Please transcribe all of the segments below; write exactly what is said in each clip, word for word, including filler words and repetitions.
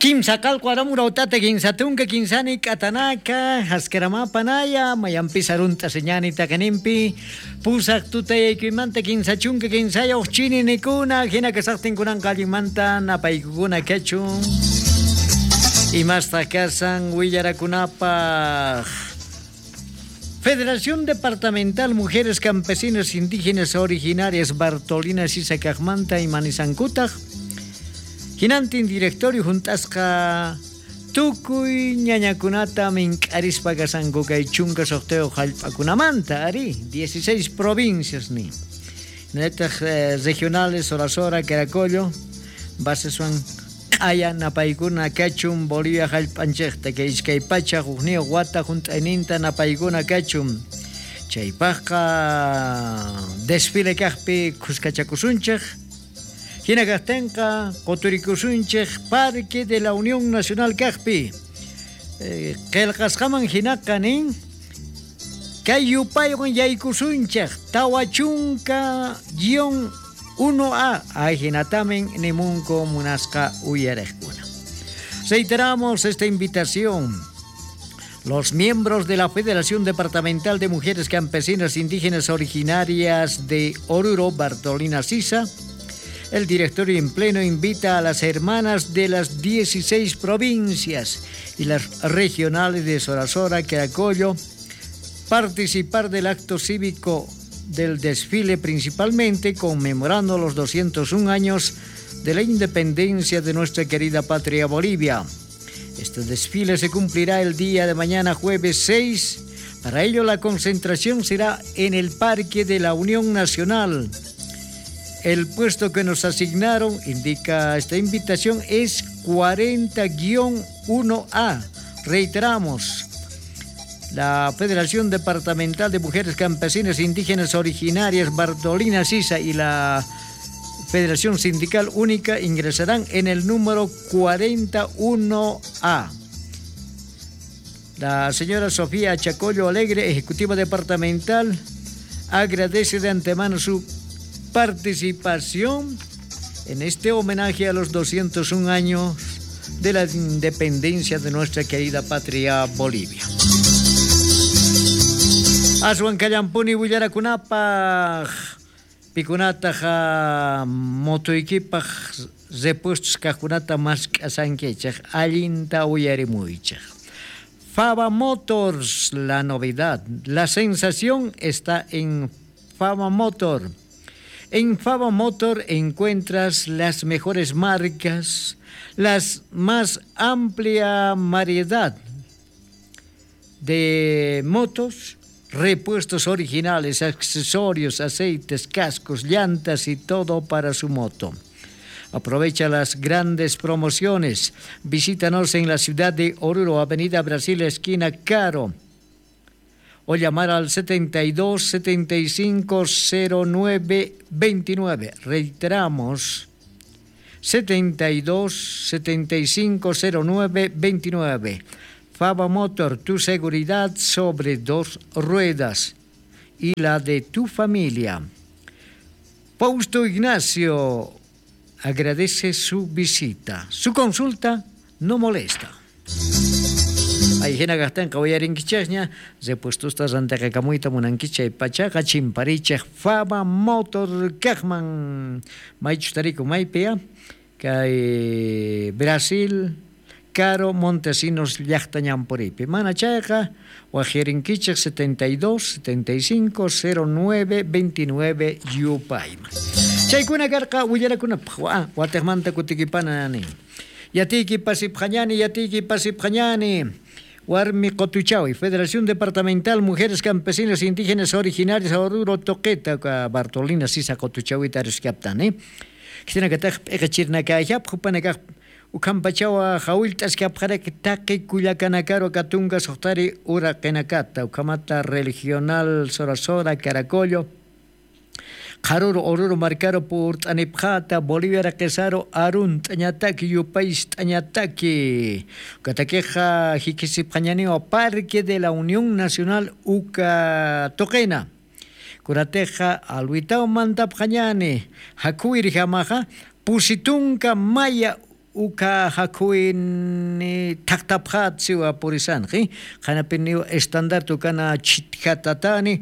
Kimsa qallqu aram urawt'ata kinsa tunka kinsani k'atanaka, jaskiramapanaya mayampis arunt'asiñani taqinimpi. Pusaq tutayaykuymanta kinsa chunka kinsaya ujchininikuna, jina kasaqtin kunan qallimanta napaykukuna kachun. Imastaq kasan willarakunapaq? Federación Departamental Mujeres Campesinas Indígenas Originarias Bartolina Sisa kaqmanta imanisankutaq, jinantin directorio junt'asqa tukuy ñañakunata mink'arispa kasanku kay chunka suqtayuq jallp'akunamanta, ari, dieciséis provincias ni. Naytaq regionales, Sorasora, Caracollo, baseswan q'aya napaykuna kachun Bolivia jallp'anchiqta kay iskay pacha ujniw wata junt'ayninta napaykuna kachun. Chaypaqqa desfile kaqpi khuskachakusunchiq. Jina kaqtinqa quturikusunchiq Parque de la Unión Nacional kaqpi. Qillqasqaman jinaqa nin, kay yupaywan yaykusunchiq tawa chunka guion uno a. Ajinatamin nimunku munasqa uyariqkuna. Reiteramos esta invitación. Los miembros de la Federación Departamental de Mujeres Campesinas Indígenas Originarias de Oruro, Bartolina Sisa, el director en pleno invita a las hermanas de las dieciséis provincias y las regionales de Sorasora, Caracollo, participar del acto cívico del desfile, principalmente conmemorando los doscientos un años de la independencia de nuestra querida patria Bolivia. Este desfile se cumplirá el día de mañana, jueves seis. Para ello, la concentración será en el Parque de la Unión Nacional. El puesto que nos asignaron, indica esta invitación, es cuarenta guion uno a. Reiteramos, la Federación Departamental de Mujeres Campesinas Indígenas Originarias Bartolina Sisa y la Federación Sindical Única ingresarán en el número cuarenta uno a. La señora Sofía Chacollo Alegre, ejecutiva departamental, agradece de antemano su participación en este homenaje a los doscientos un años de la independencia de nuestra querida patria Bolivia. Aswan kallampuni willarakunapaq, pikunataqa motoykipaq repuestos kaqkunata mask'asankichaq, allinta uyarimuychaq. Faba Motors, la novedad, la sensación está en Faba Motor. En Faba Motor encuentras las mejores marcas, las más amplia variedad de motos, repuestos originales, accesorios, aceites, cascos, llantas y todo para su moto. Aprovecha las grandes promociones. Visítanos en la ciudad de Oruro, Avenida Brasil, esquina Caro, o llamar al setenta y dos, setenta y cinco, cero nueve, veintinueve. Reiteramos, setenta y dos, setenta y cinco, cero nueve, veintinueve. Faba Motor, tu seguridad sobre dos ruedas y la de tu familia. Fausto Ignacio agradece su visita. Su consulta no molesta. Ay, jina kaqtinqa uyarinkichixña, repuestosta rantiqakamuyta munankichix, chay pachaqa chimparichix Faba Motor kaqman. Maychus tariku, maypiya? Kay Brasil, Caro, Montesinos llaqta ñampuriypi. Mana chayqa, wajirinkichix setenta y dos, setenta y cinco, cero nueve, veintinueve yupayman. Chaykuna karqa willarakunapaq, wa-, watiqmanta kutikipana nin. Yatiyki pasipxañani, yatiyki pasipxañani. Warmi Qotuchawi, Federación Departamental Mujeres Campesinas Indígenas Originarias Oruro tuqita, uka Bartolina Sisa Qotuchawita aruskaptani. Khitinakatax p'iqichirnakayapxa, jupanakax ukhampachawa jawillt'askapxaraki taqi kullakanakaru, aka tunka suxtari uraqinakata, ukhamata Regional Sorasora, Caracollo, qharuru Oruro markaru purt'anipxata, Bolivia raqisaru arunt'añataki, yupayst'añataki. Ukatakixa jikhisipxañaniwa Parque de la Unión Nacional uka tuqina. Kunatixa alwitaw mantapxañani, jakhuwirjamaxa pusi tunka maya Uka jakhuwini thaqtapxat siwa purisanxi. Qhanapiniw estandarte ukana chhitjatatani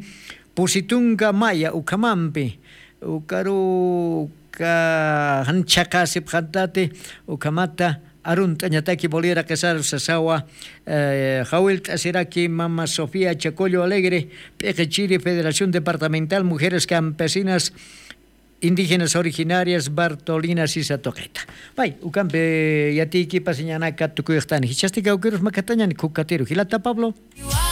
pusi tunka maya ukhamampi. Ukaru uka jan chhaqasipxantati ukhamata arunt'añataki bolera qesar sasawa. Jawilt'asiraki mama sofía chacollo alegre, p'iqichiri federación departamental mujeres campesinas indígenas originarias bartolina sisa tuqita. Pay ukampi yatiykipasiñanaka tukuyxtani jichhasti kawkirus makatañani khukatiru jilata pablo.